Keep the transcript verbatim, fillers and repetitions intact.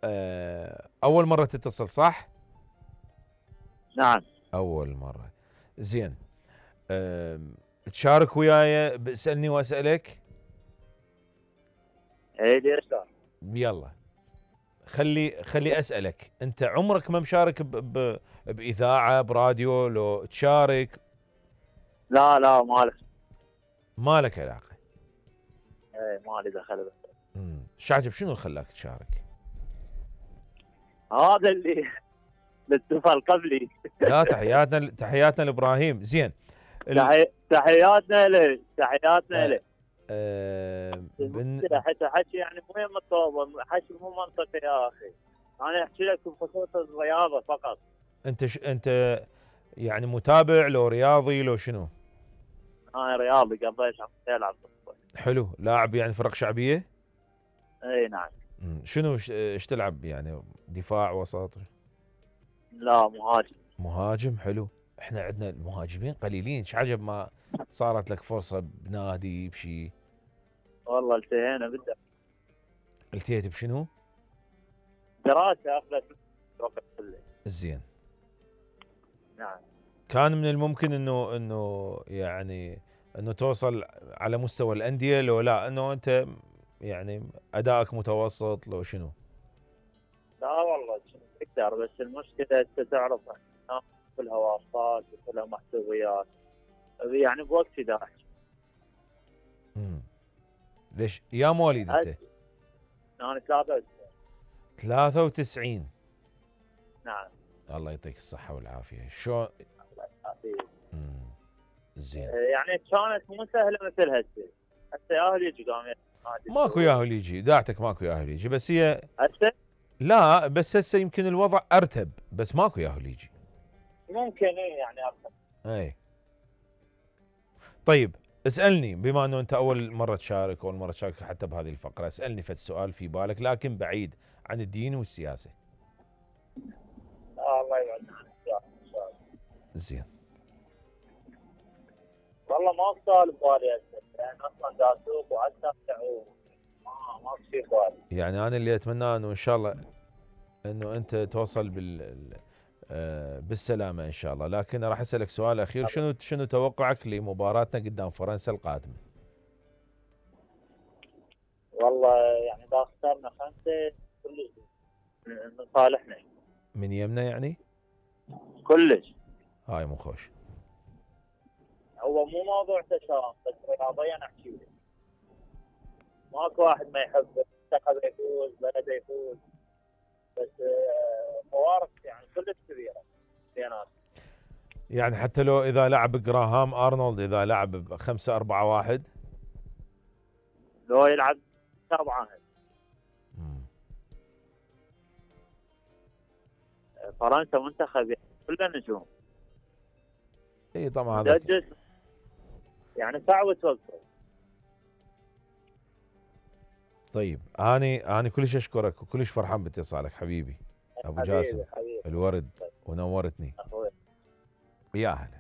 آه اول مرة تتصل صح؟ نعم. اول مرة. زين. آه تشارك وياي باسألني واسألك؟ اي ليش لا؟ يلا خلي خلي اسألك، انت عمرك ما مشارك ب... ب... باذاعة براديو لو تشارك؟ لا لا مالك. ما لك علاقة. اي مالي دخل بس. امم شعجب شنو خلاك تشارك؟ هذا اللي الاتصال قبلي. لا تحياتنا تحياتنا لابراهيم. زين. ال... تحي... تحياتنا له تحياتنا آه له. آه بن... حتى حكي يعني مو مطوبه، حكي مو منطقي يا اخي. انا احكي لك بخصوص الرياضه فقط. انت ش... انت يعني متابع لو رياضي لو شنو؟ انا رياضي قضيت عم العب. حلو. لاعب يعني فرق شعبيه؟ اي نعم. مم. شنو ايش تلعب يعني؟ دفاع وسط؟ لا مهاجم. مهاجم. حلو. احنا عندنا المهاجمين قليلين، ايش عجب ما صارت لك فرصه بنادي بشي. والله التهينا بالدرس. التيت بشنو؟ دراسه اخذت وقت كله. زين. نعم. كان من الممكن انه انه يعني انه توصل على مستوى الانديه لو لا انه انت يعني ادائك متوسط لو شنو؟ لا والله تقدر، بس المشكله انت تعرف كلها واسطات وكلها محسوبيات، يعني بوقت احدعش. امم ليش يا مواليد انت؟ انا ثلاثة وتسعين. ثلاثة وتسعين. نعم. الله يعطيك الصحة والعافية. شو الله يعافيك. امم زين. يعني كانت مو سهلة مثل هسه. هسه ياهل يجي قام ماكو ياهل يجي، داعتك ماكو ياهل يجي، بس هي هسه لا بس هسه يمكن الوضع ارتب، بس ماكو ياهل يجي. ممكن ايه يعني ارتب. اي. طيب اسألني، بما انه انت اول مرة تشارك، اول مرة تشارك حتى بهذه الفقرة، اسألني فد سؤال في بالك لكن بعيد عن الدين والسياسة. آه الله يبعد عنك ان شاء الله. زين. والله ما سؤال ببالي هسه، يعني اصلا دا اسوق واتابع ما ما في بالي. يعني انا اللي اتمناه انه ان شاء الله انه انت توصل بال آه بالسلامة ان شاء الله، لكن راح اسألك سؤال اخير، شنو شنو توقعك لمباراتنا قدام فرنسا القادمة؟ والله يعني اذا اخترنا خمسة كلش من صالحنا. من يمنا يعني؟ كلش. هاي مو خوش. هو مو موضوع تشاؤم، بس رياضيا احكي لك. ماكو واحد ما يحب منتخبه يفوز، بلده يفوز، بس فوارق يعني كلش كبيره بيناتهم. يعني حتى لو اذا لعب جراهام ارنولد، اذا لعب خمسة أربعة واحد لو يلعب سبعة فرنسا منتخب كله نجوم. اي طبعا هذا يعني صعب توقف. طيب اني اني كلش اشكرك وكلش فرحان باتصالك حبيبي ابو حبيبي جاسم. حبيبي. الورد ونورتني. أخوي. يا هلا.